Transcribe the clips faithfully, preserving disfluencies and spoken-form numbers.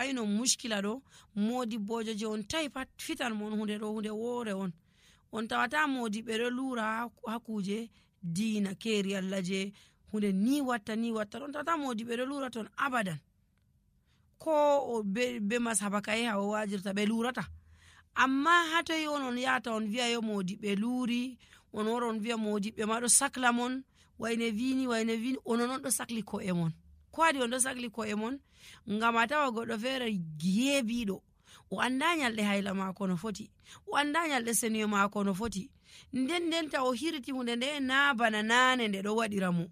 ayno muskila ɗo, moodibboojo je on tawi pat fitan mon hunde ɗo, hunde woore on. On tawata moodiɓɓe ɗo luura ha, ha kuuje diina, keeri Allah je hunde ni watta, ni watta. On tawata moodiɓɓe ɗo luura ton abadan. Ko o be, be masaba kaye ha o waajirta, ɓe luurata. Amma ha toy on, on yahata on wi'a yo moodiɓɓe luuri, on wara on wi'a moodiɓɓe ma ɗo sakla mon, wayne vini, wayne vini, onon on ɗo sakli ko'e mon. Ko waɗi on ɗo sakli ko'e mon? Ngam a tawa goɗɗo feere geebiiɗo, o annda nyalɗe hayla maako no foti, o annda nyalɗe senuye maako no foti. Nden nden ta o hiriti hunde nde na bana naane nde ɗo waɗira mo.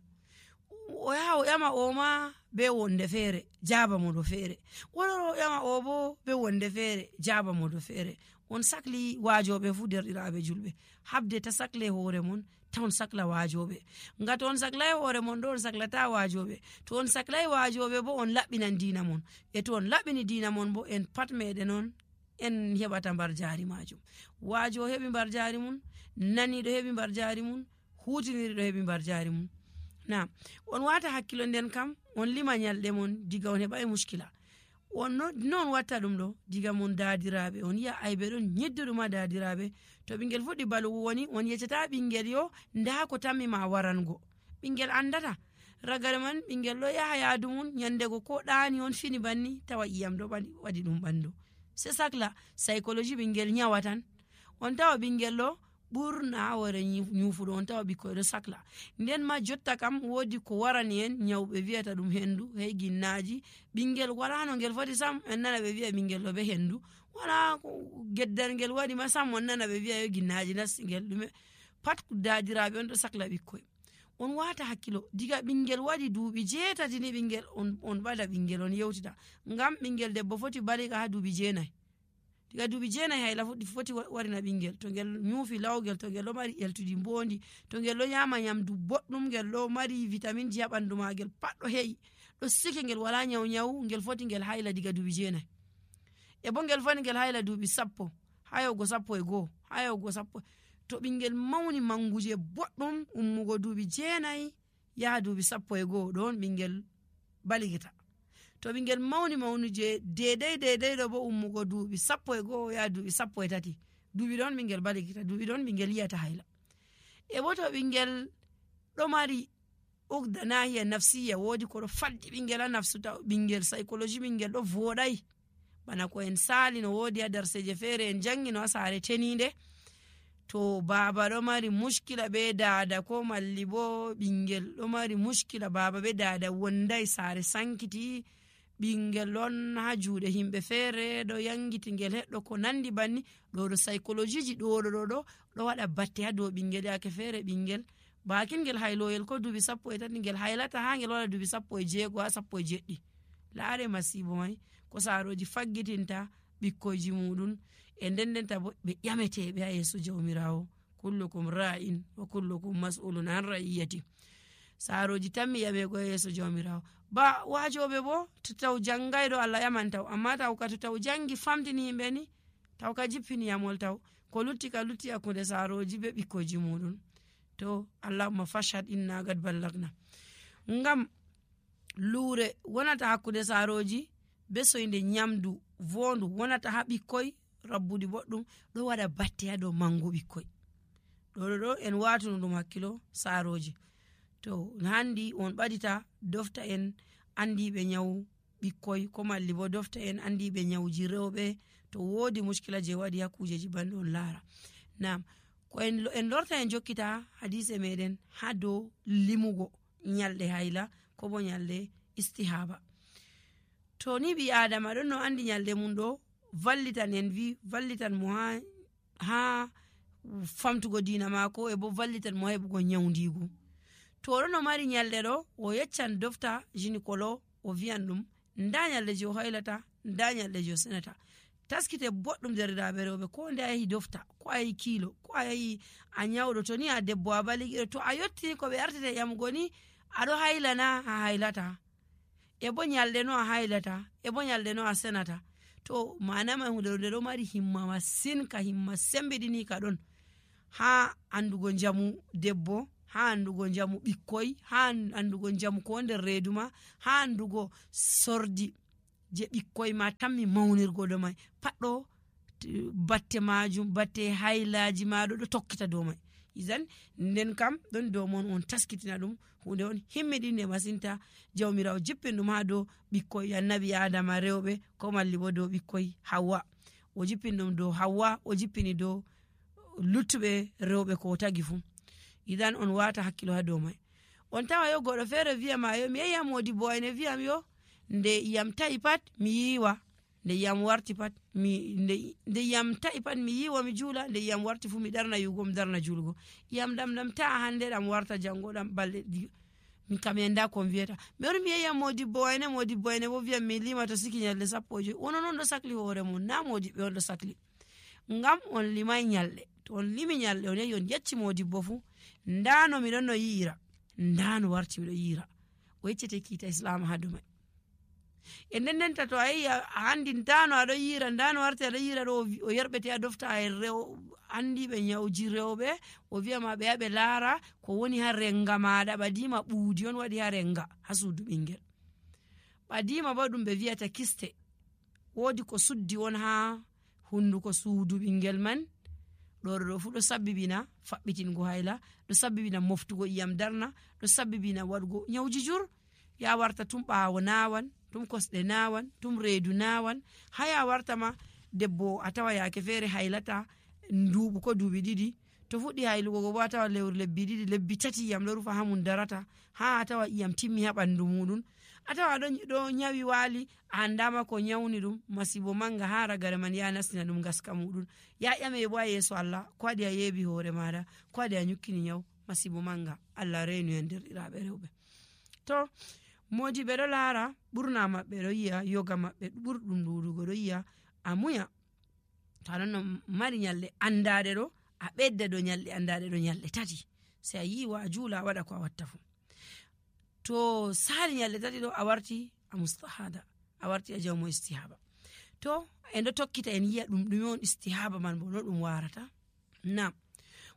O yaha o ƴama o ma be wonde feere, jaaba mo do feere. O lora o ƴama o bo be wonde feere, jaaba mo do feere. On sakli waajooɓe fu, derɗiraaɓe julɓe. Habde ta sakle hoore mon, ta on sakla waajooɓe. Nga to on saklay hoore mon ɗo, on saklata waajooɓe. To on saklay waajooɓe bo, on laɓɓinan diina mon. E to on laɓɓini diina mon bo, en pat meɗen on, en heɓata mbarjaari maajum. Waajo heɓi mbarjaari mum, naniiɗo heɓi mbarjaari mum, huutiniriɗo heɓi mbarjaari mum. Naam, on waata hakkilo nden kam, on lima nyalɗe mon diga on heɓa e muskila. On no, non watta ɗum ɗo, diga mon daadiraaɓe, on yi'a aybe ɗon nyedduɗuma daadiraaɓe. To ɓingel fuɗɗi balugu woni, on yeccata ɓingel yo, nda ko tammi ma warango. Ɓingel andata. Ragare man, ɓingel ɗo yaha yaadu mum, nyandego ko ɗaani on fini banni, tawa iyam ɗo ɓaɗi, waɗi ɗum ɓandu. Se sakla, psychologie ɓingel nyawa tan. On tawa ɓingel ɗo, ɓurna hoore nyi-, nyufuɗo, on tawa ɓikkoy ɗo sakla. Nden ma jotta kam, woodi ko warani en, nyawɓe wi'ata ɗum hendu, hey ginnaaji. Ɓingel wala no ngel foti sam, en nana ɓe wi'a ɓingel ɗo be hendu. Wala ko geddal ngel waɗi ma sam, on nana ɓe wi'a yo ginnaaji nasti ngel ɗume. Pat ko daadiraaɓe on ɗo sakla ɓikkoy. On waata hakkilo, diga ɓingel waɗi duuɓi jeetati ni ɓingel on, on ɓada ɓingel on yewtida. Ngam ɓingel debbo foti baliga ha duuɓi jeenay. Diga duuɓi jeenay hayla foti, foti wa-, warina ɓingel. To ngel nyufi lawgel, to ngel ɗo mari eltudi mbondi, to ngel ɗo nyama nyamdu boɗɗum, ngel ɗo mari vitaminji ha ɓandu magel, pat ɗo he'i, ɗo sike, ngel wala nyaw nyaw, ngel foti ngel hayla diga duuɓi jeenay. E bo ngel foti ngel hayla duuɓi sappo, ha yahugo sappo e go'o, ha yahugo sappo. To ɓingel mawni manguje boɗɗum, ummugo duuɓi jeenay, yaha duuɓi sappo e go'o, ɗon ɓingel baligita. To ɓingel mawni mawnuje deedey deedey ɗo bo ummugo duuɓi sappo e go'o, yaha duuɓi sappo e tati. Duuɓi ɗon ɓingel baligita, duuɓi ɗon ɓingel yiyata hayla. E bo to ɓingel ɗo mari ugda nahiya nafsiya, woodi ko ɗo faddi ɓingel ha nafsu, taw ɓingel psychologie ɓingel ɗo vooɗay. Bana ko en saali no woodi ha darseje feere en jangino ha saare teniinde. To baaba ɗo mari muskila be daada, ko malli bo ɓingel ɗo mari muskila, baaba be daada wonday, saare sankiti, ɓingel on ha juuɗe himɓe feere ɗo yangiti ngel heɗɗo ko nandi banni, ɗo ɗo psychologie ji ɗo ɗo ɗo ɗo, ɗo waɗa batte ha dow ɓingel, yaake feere ɓingel bakin ngel hayloyel ko duuɓi sappo e tati, ngel haylata ha ngel waɗa duuɓi sappo e jeego ha sappo e jeɗɗi. Laare masiibo may, ko saarooji faggitinta ɓikkoyji muɗum, e nden nden ta bo ɓe ƴameteeɓe ha yeeso Jawmiraawo. "Kullukum ra'in wa kullukum mas'ulun an ra'iyati." Saarooji tammi ƴameego ha yeeso Jawmiraawo. Ba waajooɓe bo, to taw jangayɗo Allah ƴaman taw, amma taw ka to taw jangi famtini yimɓe ni, taw ka jippini yamol taw. Ko lutti ka lutti hakkunde saarooji be ɓikkoyji muɗum. To, Allahumma fashhad inna gad ballagna. Ngam luure wonata hakkunde saarooji be soynde nyamdu voondu wonata ha ɓikkoy rabbuɗi boɗɗum, ɗo waɗa batte ha dow mangu ɓikkoy. Ɗo, ɗo, ɗo en watuno ɗum hakkilo saarooji. To, handi on ɓadita dofta en andiiɓe nyawu ɓikkoy, ko malli bo dofta en andiiɓe nyawuji rewɓe, to woodi muskila je waɗi ha kuujeji banɗo on laara. Naam, ko en lo-, en lorta en jokkita hadiise meɗen ha dow limugo nyalɗe hayla, ko bo nyalɗe istihaba. To ni ɓii Aadama ɗon no andi nyalɗe mum ɗo, vallitan en vi, vallitan mo ha, ha famtugo diina maako, e bo vallitan mo ha heɓugo nyawndiigu. To o ɗon no mari nyalɗe ɗo, o yeccan dofta gynécolo, o vi'an ɗum, nda nyalɗe je o haylata, nda nyalɗe je o senata. Taskite boɗɗum, derɗiraaɓe rewɓe, ko nde a yahi dofta, ko a yahi kiilo, ko a yahi a nyawɗo, to ni a debbo a baligiɗo, to a yottini ko ɓe artete ƴamugo ni, a ɗo haylana, a haylata. E bo nyalɗe no a haylata, e bo nyalɗe no a senata. To maana man hunde nde ɗo mari himma masin, ka himma sembiɗini ka ɗon. Ha andugo njamu debbo, ha andugo njamu ɓikkoy, ha an-, andugo njamu ko nder reedu ma, ha andugo sordi. je ɓikkoy ma tammi mawnirgo dow may. Paɗɗo batte majum, batte haylaaji ma ɗo ɗo tokkita dow may. Idan nden kam ɗon dow mon on taskitina ɗum, huunde on himmiɗinde masinta. Jawmiraawo jippin ɗum haa dow ɓikkoy annabi Aadama rewɓe, ko malli bo dow ɓikkoy Hawwa. O jippin ɗum dow Hawwa, o jippini dow luttuɓe rewɓe ko o tagi fuu. Idan on waata hakkilo haa dow may. On tawa yo goɗɗo feere wiya ma yo mi yehi haa moodibbo ayne wiyam yo nde iyam ta'i pat mi yiiwa, nde iyam warti pat mi nde, nde iyam ta'i pat mi yiiwa mi juula, nde iyam warti fuu mi darna yiwugo mi darna juulugo. Iyam ɗam ɗam ta'a hannde ɗam warta janngo ɗam balɗe ɗi- min kam en nda ko mi wiyata. Mi wari mi yehi haa moodibbo ayne, moodibbo ayne bo wiyam mi limato siki ñalɗe sappo e joy. Wono non ɗo sakli hoore mum, na moodiɓɓe on ɗo sakli. Ngam on limay ñalɗe. To on limi ñalɗe, on yehi on yecci moodibbo fuu, nda no miɗon no yi'ira, nda no warti miɗo yi'ira. O yeccete kiita Islaama haa dow may. E nden ndenta to a yehi a, a anndi nda no aɗo yi'ira, nda no warti aɗo yi'ira ɗo, o wi-, o yerɓete a dofta e rew-, anndiiɓe ñawji rewɓe, o wi'a ma ɓe yaha ɓe laara ko woni haa renga maaɗa, ɓadiima ɓuudi on waɗi haa renga, haa suudu ɓinngel. Ɓadiima bo ɗum ɓe wi'ata kiste. Woodi ko suddi on haa hunnduko suudu ɓinngel man. Ɗo, ɗo, ɗo fuu ɗo sabbibina faɓɓitingo hayla, ɗo sabbibina moftugo iyam darna, ɗo sabbibina waɗugo ñawji jur. Ya warta tum ɓaawo naawan, tum kosɗe naawan, tum reedu naawan. Haa ya warta ma debbo a tawa yaake feere haylata nduuɓu ko duuɓi ɗiɗi. To fuɗɗi haylugo go bo a tawa lewru lebbi ɗiɗi, lebbi tati iyam ɗo rufa haa mum darata, haa a tawa iyam timmi haa ɓanndu muuɗum. A tawa ɗo, ɗo ñawi waali, a anndaama ko ñawni ɗum, masiibo mannga haa ragare man ya nastina ɗum ngaska muuɗum. Ya ƴame bo a yeeso Allah, ko waɗi a yeebi hoore maaɗa, ko waɗi a ñukkini ñaw, masiibo mannga. Allah reenu en derɗiraaɓe rewɓe. To, moodiɓɓe ɗo laara, ɓurna maɓɓe ɗo yi'a, yoga maɓɓe ɓurɗum ɗuuɗugo ɗo yi'a, a muña. To aɗon no mari ñalɗe anndaɗe ɗo, a ɓedda ɗo ñalɗe anndaɗe ɗo ñalɗe tati. Sey a yiiwa, a juula, a waɗa ko a watta fuu. To saali ñalɗe tati ɗo, a warti a mustahada, a warti a jawmo istihaba. To, en ɗo tokkita en yi'a ɗum ɗume on istihaba man bo no ɗum warata. Naam.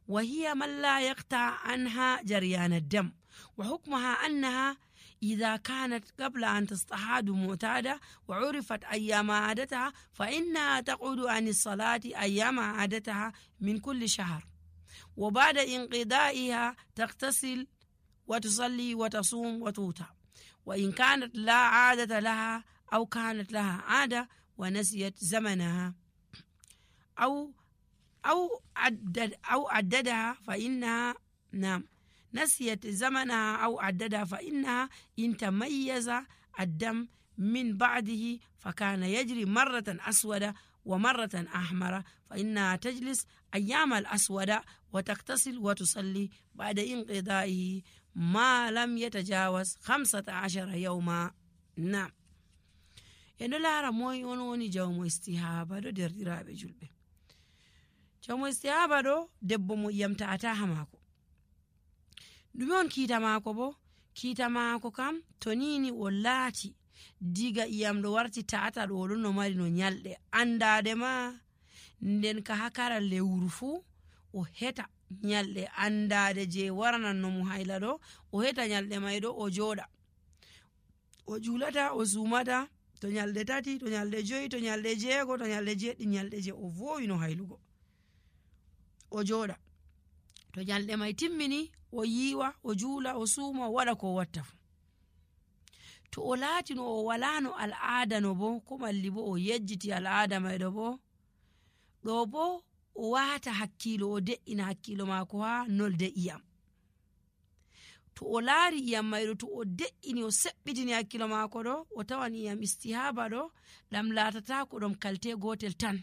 وهي من لا يقطع عنها جريان الدم، وحكمها أنها إذا كانت قبل أن تستحاض معتادة وعرفت أيام عادتها فإنها تقعد عن الصلاة أيام عادتها من كل شهر، وبعد انقضائها تغتسل وتصلي وتصوم وتوتر، وإن كانت لا عادة لها أو كانت لها عادة ونسيت زمنها أو أو عدد أو عددها فإنها، نعم، نسيت زمنها أو عددها فإنها إن تميز الدم من بعده فكان يجري مرة أسود ومرة أحمر فإنها تجلس أيام الأسود وتغتسل وتصلي بعد انقضائه ما لم يتجاوز خمسة عشر يوما. نعم. En ɗo laara moy on woni jawmo istihaba ɗo derɗiraaɓe julɓe. Jawmo istihaba ɗo debbo mo iyam ta'ata haa maako. Ɗume on kiita maako bo? Kiita maako kam to nini o laati diga iyam ɗo warti ta'ata ɗo o ɗon no mari no ñalɗe anndaade ma nden ka haa kara lewru fuu o heta ñalɗe anndaade je warananno mo hayla ɗo o heta ñalɗe may ɗo o jooɗa. O juulata, o suumata, to ñalɗe tati, to ñalɗe joyi, to ñalɗe jeego, to ñalɗe jeeɗiɗi, ñalɗe je o voowino haylugo. O jooɗa. To ñalɗe may timmini, o yiiwa, o juula, o suuma, o waɗa ko o watta fuu. To o laatino o walaano al'aada no bo, ko malli bo o yejjiti al'aada may ɗo bo, ɗo bo o waata hakkiilo, o de'ina hakkiilo maako haa nolde iyam. To o laari iyam may ɗo, to o de'ini, o seɓɓitini hakkilo maako ɗo, o tawan iyam istihaba ɗo, ɗam laatata ko ɗom kalte gootel tan.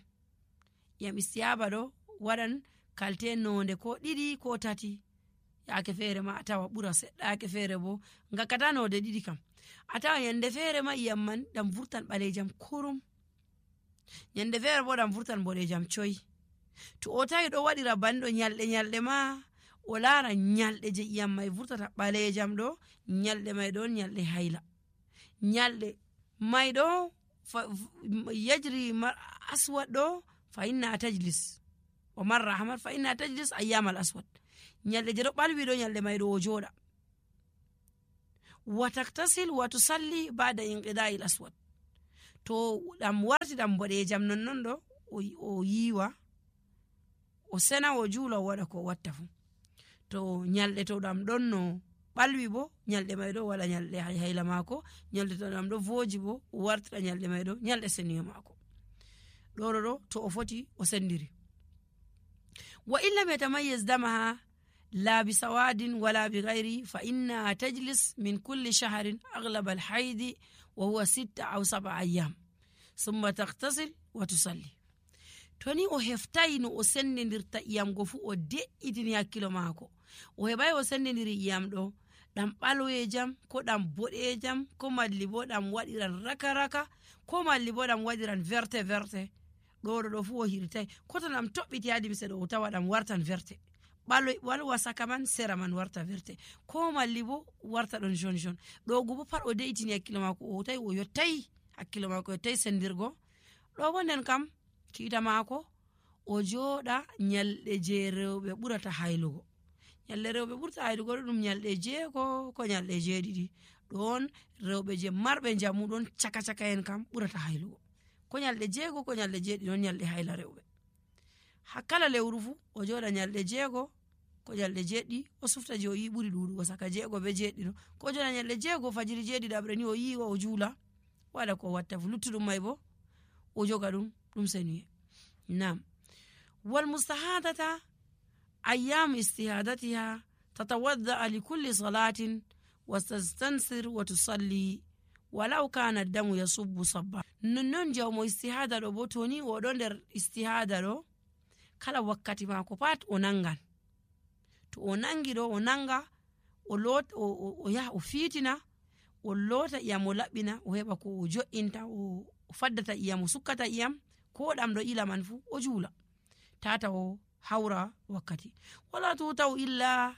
Iyam istihaba ɗo waɗan kalte noonde ko ɗiɗi ko tati. Yaake feere ma a tawa ɓura seɗɗa, yaake feere bo ngakkata noonde ɗiɗi kam. A tawa ñande feere ma iyam man ɗam vurtan ɓaleejam kurum. Ñande feere bo ɗam vurtan mboɗeejam coy. To o tawi ɗo waɗira banni ɗo ñalɗe, ñalɗe ma, o laara ñalɗe je iyam may vurtata ɓaleejam ɗo, ñalɗe may ɗon ñalɗe hayla. Ñalɗe may ɗo fa-, f-, yajri mar-, aswad ɗo, fa inna tajlis. O marra ahmar, fa inna tajlis ayyamal aswad. Ñalɗe je ɗo ɓalwi ɗo, ñalɗe may ɗo o jooɗa. Wa taktasil wa tusalli ba'da inqida'il aswad. To ɗam warti ɗam boɗeejam non non ɗo, o, o yiiwa, o sena, o juula, o waɗa ko o watta fuu. To ñalɗe to ɗam ɗon no ɓalwi bo, ñalɗe may ɗo waɗa ñalɗe hay-, hayla maako, ñalɗe to ɗam ɗo vooji bo, o wartira ñalɗe may ɗo ñalɗe seniyo maako. Ɗo ɗo ɗo, to o foti, o sendiri. وإن لم يتميز دمها لا بسواد ولا بغيره، فإنها تجلس من كل شهر أغلب الحيض، وهو ستة أو سبع أيام، ثم تغتسل وتصلي. To ni o heftayi no o sendindirta iyam go fuu, o de'itini hakkilo maako. O heɓayi o sendindiri iyam ɗo, ɗam ɓaleejam, ko ɗam boɗeejam, ko malli bo ɗam waɗiran raka-raka, ko malli bo ɗam waɗiran verte-verte. Ɗo ɗo ɗo fuu o hirtay. Ko to ɗam toɓɓiti haa limse ɗo, o tawa ɗam wartan verte. Ɓalo-, ɓalwa saka man, sera man warta verte. Ko malli bo warta ɗon jaune jaune. Ɗo go bo pat o de'itini hakkilo maako, o tawi o yottay, hakkilo maako yottay sendirgo. Ɗo bo nden kam, kiita maako, o jooɗa ñalɗe je rewɓe ɓurata haylugo. Ñalɗe rewɓe ɓurata haylugo ɗo ɗum ñalɗe jeego, ko ñalɗe jeeɗiɗi. Ɗon rewɓe je marɓe njamu ɗon caka caka en kam ɓurata haylugo. Ko ñalɗe jeego, ko ñalɗe jeeɗiɗi ɗon ñalɗe hayla rewɓe. Haa kala lewru fuu, o jooɗa ñalɗe jeego, ko ñalɗe jeeɗiɗi, o sufta je o yi'i ɓuri ɗuuɗugo saka jeego be jeeɗiɗi ɗo. Ko o jooɗa ñalɗe jeego, fajiri jeeɗiɗaɓre ni o yiiwa, o juula, waɗa ko o watta fuu. Luttuɗum may bo, o joga ɗum, ɗum senuye. Naam. والمستحاضة أيام استحاضتها تتوضأ لكل صلاة وتستنثر وتصلي ولو كان الدم يصب صبا. Nonnon jawmo istihada ɗo bo, to ni o ɗo nder istihada ɗo, kala wakkati maako pat o nangan. To o nangi ɗo, o nanga, o loot-, o, o, o yaha, o fiitina, o loota iyam, o laɓɓina, o heɓa ko o jo'inta, o, o faddata iyam, o sukkata iyam, ko ɗam ɗo ila man fuu, o juula. Tata o hawra wakkati. ولا توطأ إلا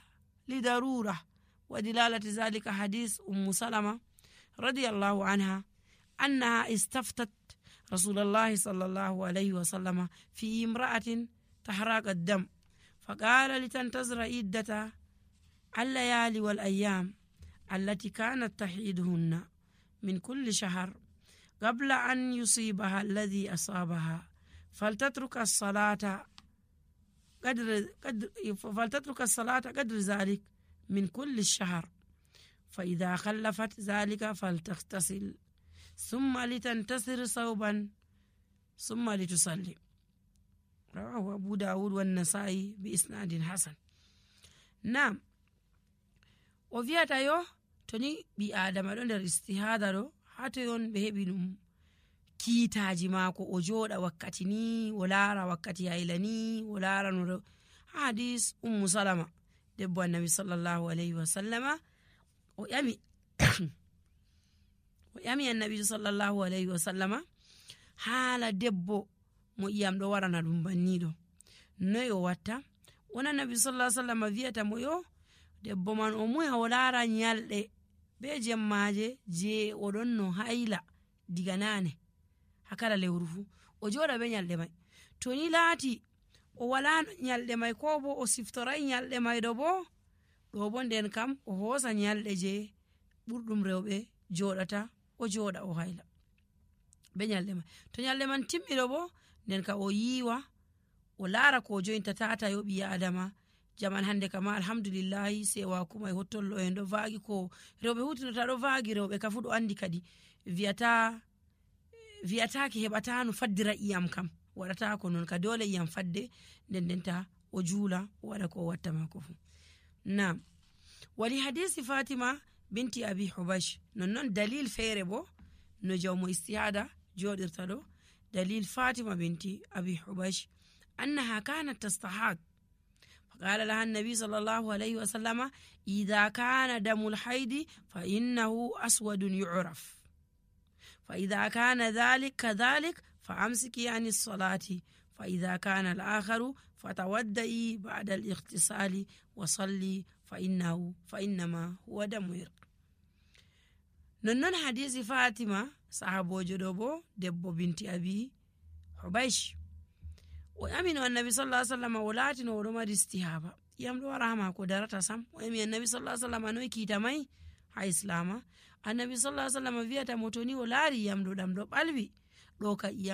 لضرورة، ودلالة ذلك حديث أم سلمة رضي الله عنها أنها استفتت رسول الله صلى الله عليه وسلم في امرأة تحرق الدم، فقال لتنتظر عدة الليالي والأيام التي كانت تحيضهن من كل شهر قبل أن يصيبها الذي أصابها، فلتترك الصلاة قدر، قدر، فلتترك الصلاة قدر ذلك من كل الشهر، فإذا خلفت ذلك فلتغتسل، ثم لتنتثر ثوبا، ثم لتصلي. رواه أبو داود والنسائي بإسناد حسن. Naam. O wi'ata yo, to ni ɓii Aadama ɗo nder istihaada ɗo, haa toy on ɓe heɓi ɗum kiitaaji maako, o jooɗa wakkati ni, o laara wakkati hayla ni, o laara no rew-, haa hadis Ummu Salama, debbo Annabi sallallahu alayhi wa sallama, o ƴami, o ƴami Annabi sallallahu alayhi wa sallama haala debbo mo iyam ɗo warana ɗum banniiɗo. Noy o watta? Wona Annabi sallallahu alayhi wa sallama wi'ata mo yo debbo man o muya o laara ñalɗe be jemmaaje je o ɗon no hayla diga naane, haa kala lewru fuu. O jooɗa be ñalɗe may. To ni laati o walaa ñalɗe may, ko bo o siftoray ñalɗe may ɗo bo, ɗo bo nden kam o hoosa ñalɗe je ɓurɗum rewɓe jooɗata, o jooɗa o hayla be ñalɗe man. To ñalɗe man timmi ɗo bo, nden ka o yiiwa, o laara ko o jointa tata yo ɓii Aadama. Jaman hannde kama, alhamdulillahi, sewa kuma e hottollo en ɗo vaagi ko rewɓe hutinota ɗo vaagi, rewɓe ka fuu ɗo anndi kadi. Wi'ata, wi'ataake heɓata no faddira iyam kam. Waɗata ko non ka doole iyam fadde, nden nden ta o juula, o waɗa ko o watta maako fuu. Naam. ولحديث فاطمة بنت أبي حبيش. Non non dalil feere bo, no jawmo istihaada jooɗirta ɗo. Dalil Fatima binti Abi Hubaysh. أنها كانت تستحاض. فقال لها النبي صلى الله عليه وسلم: إذا كان دم الحيض فإنه أسود يعرف. فإذا كان ذلك كذلك فأمسكي عن الصلاة، فإذا كان الآخر فتوضئي بعد الاغتسال وصلي، فإنه، فإنما هو دم عرق. Non non hadisi Fatima, sahaboojo ɗo bo, debbo binti Abi Hubaysh. O ƴami no Annabi sallallahu alaihi wasallam, o laati no o ɗo mari istihaba. Iyam ɗo wara haa maako darata sam. O ƴami Annabi sallallahu alaihi wasallam, noy kiita may haa Islama? Annabi sallallahu alaihi wasallam wi'ata mo, to ni o laari iyam ɗo ɗam ɗo ɓalwi, ɗo ka ƴiyam.